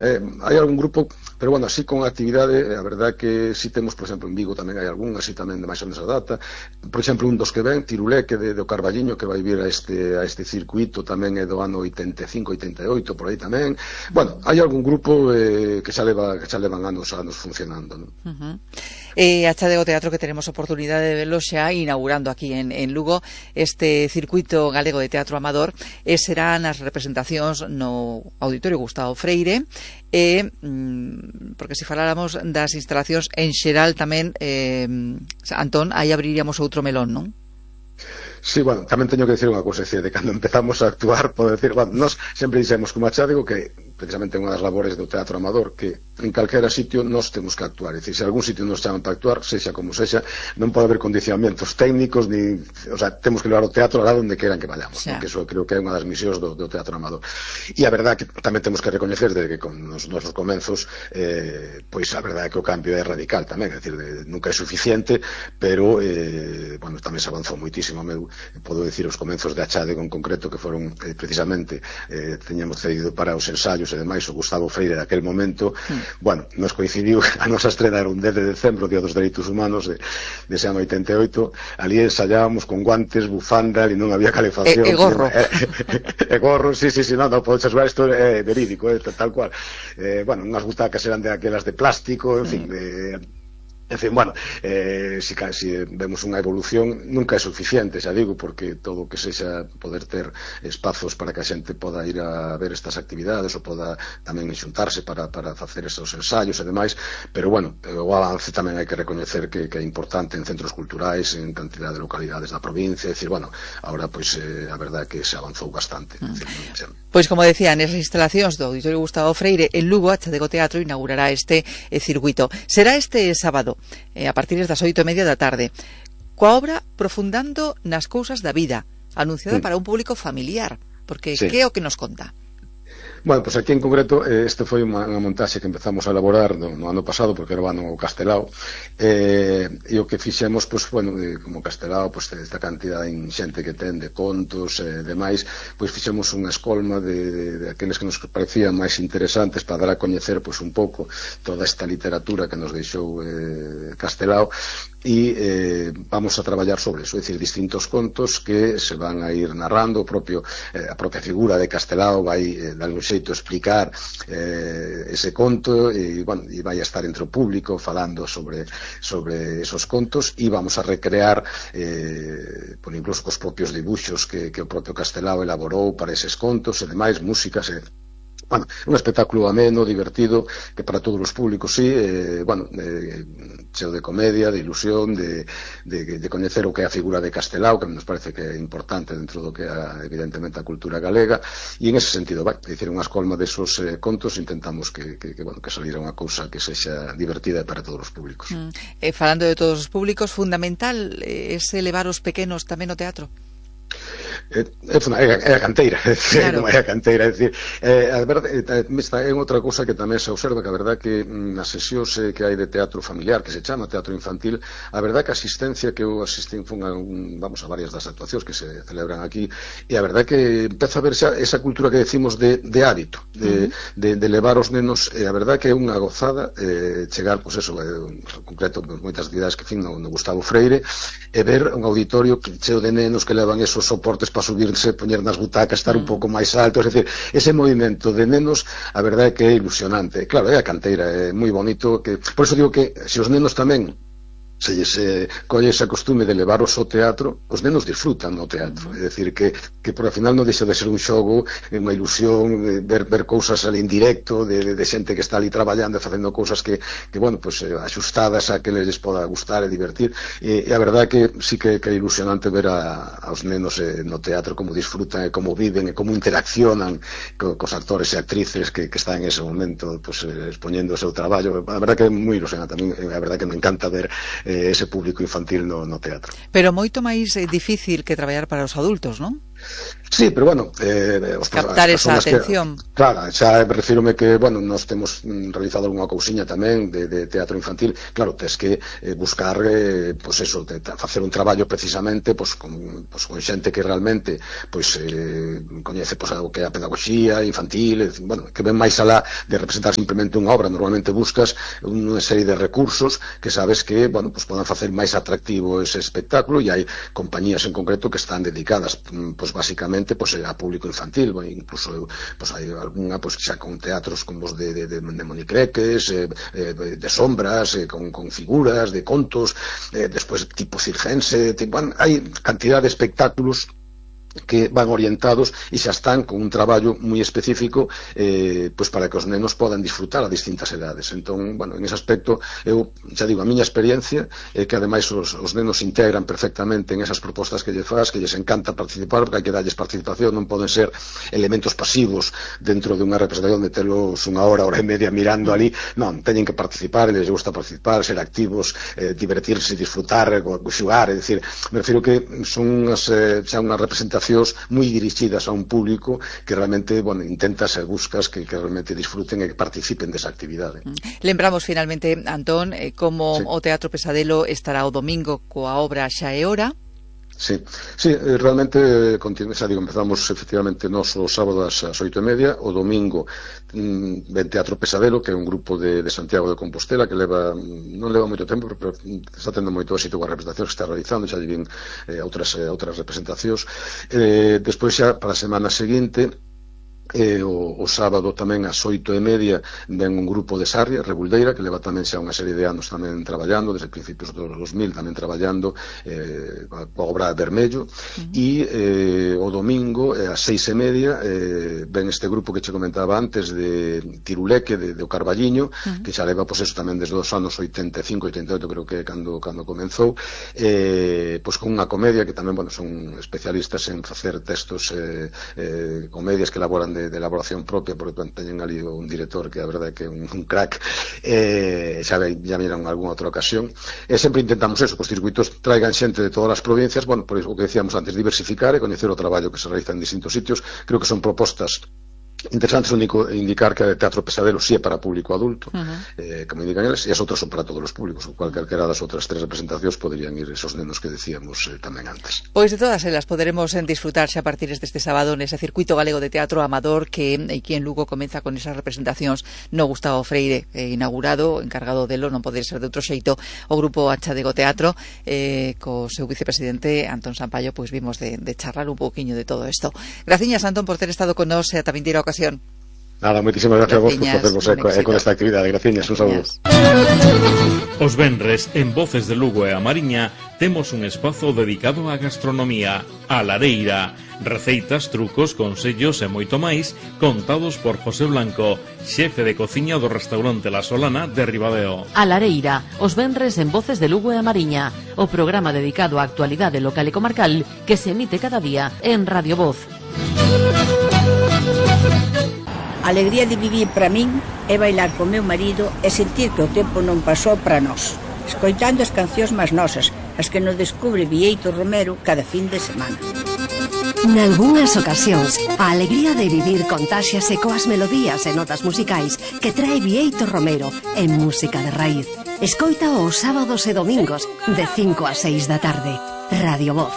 Hai algún grupo, pero bueno, así con actividade, a verdade que si temos, por exemplo, en Vigo tamén hai algún, así tamén de máis ou menos a data. Por exemplo, un dos que ven, Tiruleque do Carballiño, que vai vir a este circuito tamén é do ano 85, 88, por aí tamén. Bueno, hai algún grupo que xa levan anos funcionando, non? A Chadego Teatro, que tenemos oportunidade de verlo xa inaugurando aquí en Lugo este circuito galego de teatro amador, serán as representacións no Auditorio Gustavo Freire, porque se faláramos das instalacións en xeral tamén, Antón, aí abriríamos outro melón, non? Sí, bueno, tamén teño que decir unha cousa, de cando empezamos a actuar, podo decir, bueno, nós sempre dixemos como a Chadego que precisamente unha das labores do teatro amador, que en calquera sitio nós temos que actuar, é dicir, se algún sitio nos chaman para actuar, sexa como sexa, non pode haber condicionamentos técnicos, ni, o sea, temos que levar o teatro alá onde queiran que vayamos, que eso creo que é unha das misións do teatro amador. E a verdade que tamén temos que recoñecer de que con os nosos comenzos, pois a verdade é que o cambio é radical tamén, é dicir, nunca é suficiente, pero, bueno, tamén se avanzou moitísimo. Podo dicir os comenzos de Achade en concreto, que foron precisamente, teñamos cedido para os ensaios e demais o Gustavo Freire daquel momento. Bueno, nos coincidiu a nosa estrena era un 10 de decembro, Día dos Dereitos Humanos dese ano 88, ali ensaiábamos con guantes, bufanda, e non había calefacción e gorro e gorro, sí, non podes asegurar, isto é verídico, tal cual. Bueno, unhas butacas eran de aquelas de plástico, en fin, en fin, bueno, si vemos unha evolución, nunca é suficiente, xa digo, porque todo o que sexa poder ter espazos para que a xente poda ir a ver estas actividades ou poda tamén xuntarse para facer esos ensaios e demais, pero bueno, o avance tamén hai que recoñecer que é importante en centros culturais, en cantidad de localidades da provincia, é dicir, bueno, ahora pois a verdade é que se avanzou bastante. Pois como decía, nesas instalacións do Auditorio Gustavo Freire en Lugo, a Chadego Teatro inaugurará este circuito. Será este sábado, a partir das 8:30 da tarde, coa obra Profundando nas cousas da vida, anunciada para un público familiar, porque que é o que nos conta? Bueno, pois aquí en concreto este foi unha montaxe que empezamos a elaborar no ano pasado, porque era o ano Castelao, e o que fixemos, pois, bueno, como Castelao, pois, esta cantidad inxente que ten de contos e demais, pois fixemos unha escolma de aqueles que nos parecían máis interesantes para dar a coñecer, pois, un pouco toda esta literatura que nos deixou Castelao, e vamos a traballar sobre eso, é dicir, distintos contos que se van a ir narrando, a propia figura de Castelao vai dar un xeito explicar ese conto, e bueno, e vai a estar entre o público falando sobre esos contos, e vamos a recrear por incluso cos propios dibuxos que o propio Castelao elaborou para eses contos e demais, músicas bueno, un espectáculo ameno, divertido, que para todos os públicos, sí, bueno, cheo de comedia, de ilusión, de coñecer o que é a figura de Castelao, que nos parece que é importante dentro do que é, evidentemente, a cultura galega, e en ese sentido, vai, dicir, unha escolma desos contos, intentamos que salira unha cousa que sexa divertida para todos os públicos. Falando de todos os públicos, fundamental ese levar os pequenos tamén ao teatro? É a canteira, claro. É a canteira, é dicir, a verdade, é outra cousa que tamén se observa, que a verdade que nas sesións que hai de teatro familiar, que se chama teatro infantil, a verdade que a asistencia que eu asistín vamos a varias das actuacións que se celebran aquí, e a verdade que empeza a ver xa esa cultura que decimos de hábito, de levar os nenos, e a verdade que é unha gozada chegar, pois eso, en concreto, moitas actividades que fin no Gustavo Freire, e ver un auditorio cheo de nenos que levan esos soportes para subirse, poñer nas butacas, estar un pouco máis alto, é dicir, ese movimento de nenos, a verdade é que é ilusionante. Claro, é a canteira, é moi bonito, por eso digo que se os nenos tamén se colle ese costume de levaros ao teatro, os nenos disfrutan no teatro, é dicir, que por ao final non deixa de ser un xogo, unha ilusión, ver cousas ali en directo, de xente que está ali traballando e facendo cousas que bueno, pues axustadas a que les poda gustar e divertir, e a verdade que sí que é ilusionante ver aos nenos no teatro como disfrutan e como viven e como interaccionan cos actores e actrices que están en ese momento expoñendo o seu traballo. A verdade que é moi ilusionante, a verdade que me encanta ver ese público infantil no teatro. Pero moito máis difícil que traballar para os adultos, non? Sí, pero bueno, captar esa atención. Claro, xa refírome que, bueno, nós temos realizado algunha cousiña tamén de teatro infantil. Claro, tes que buscar, pois eso, facer un traballo precisamente con xente que realmente coñece o que é a pedagogía infantil, bueno, que ven máis alá de representar simplemente unha obra. Normalmente buscas unha serie de recursos que sabes que, bueno, podan facer máis atractivo ese espectáculo, e hai compañías en concreto que están dedicadas, basicamente, a público infantil. Incluso hai algunha xa con teatros como os de monicreques, de sombras, con figuras, de contos, despois tipo circense, hai cantidad de espectáculos que van orientados e xa están con un traballo moi específico para que os nenos podan disfrutar a distintas edades. Entón, bueno, en ese aspecto eu xa digo, a miña experiencia é que ademais os nenos integran perfectamente en esas propostas que lles faz, que lles encanta participar, porque hai que darlles participación, non poden ser elementos pasivos dentro de unha representación de telos unha hora e media mirando ali. Non, teñen que participar, lles gusta participar, ser activos, divertirse, disfrutar, xugar. É dicir, me refiro que son xa unha representación moi dirixidas a un público que realmente, bueno, intentas e buscas que realmente disfruten e que participen desa actividade. Lembramos finalmente, Antón, como o Teatro Pesadelo estará o domingo coa obra Xa é hora. Sí, realmente empezamos efectivamente nós o sábado ás 8:30, o domingo ven Teatro Pesadelo, que é un grupo de Santiago de Compostela que non leva moito tempo, pero está tendo moito éxito coas representacións que está realizando, xa lle vin outras representacións. Despois xa para a semana seguinte, o sábado tamén ás 8:30 ven un grupo de Sarria, Rebuldeira, que leva tamén xa unha serie de anos tamén traballando, desde principios dos 2000 tamén traballando coa obra Vermello. E o domingo ás 6:30 ven este grupo que che comentaba antes de Tiruleque, de O Carballiño, que xa leva eso tamén desde os anos 85-88, creo que cando comenzou, con unha comedia que tamén, bueno, son especialistas en facer textos, comedias que elaboran de elaboración propia, porque teñen ali un director que a verdade é que é un crack, xa miran algunha outra ocasión, e sempre intentamos eso, que os circuitos traigan xente de todas as provincias, bueno, por iso que decíamos antes, diversificar e coñecer o traballo que se realiza en distintos sitios. Creo que son propostas interesante. Único indicar que o Teatro Pesadelo sí é para público adulto, como indican eles, e as outras son para todos os públicos, o cual calquera das outras tres representacións poderían ir esos nenos que decíamos tamén antes. Pois de todas elas poderemos disfrutar xa a partir deste sábado nese circuito galego de teatro amador que aquí en Lugo comeza con esas representacións no Gustavo Freire, inaugurado, encargado delo, non pode ser de outro xeito, o grupo Achadego Teatro, co seu vicepresidente Antón Sampaio, pois vimos de charlar un pouquiño de todo isto. Graciñas, Antón, por ter estado con nós e a tamén tira ocasión. Nada, moitísimas gracias a vos por facervos con esta actividade. Graciñas, un saúdo. Os venres, en Voces de Lugo e a Mariña, temos un espazo dedicado á gastronomía, a Lareira. Receitas, trucos, consellos e moito máis contados por José Blanco, xefe de cociña do restaurante La Solana de Ribadeo. A Lareira, os venres en Voces de Lugo e a Mariña, o programa dedicado á actualidade local e comarcal que se emite cada día en Radio Voz. A alegría de vivir para min é bailar con meu marido e sentir que o tempo non pasou para nós, escoitando as cancións máis nosas, as que nos descubre Bieito Romero cada fin de semana. Nalgúnas ocasións, a alegría de vivir contáxiase coas melodías e notas musicais que trae Bieito Romero en música de raíz. Escoita os sábados e domingos de 5 a 6 da tarde. Radio Voz.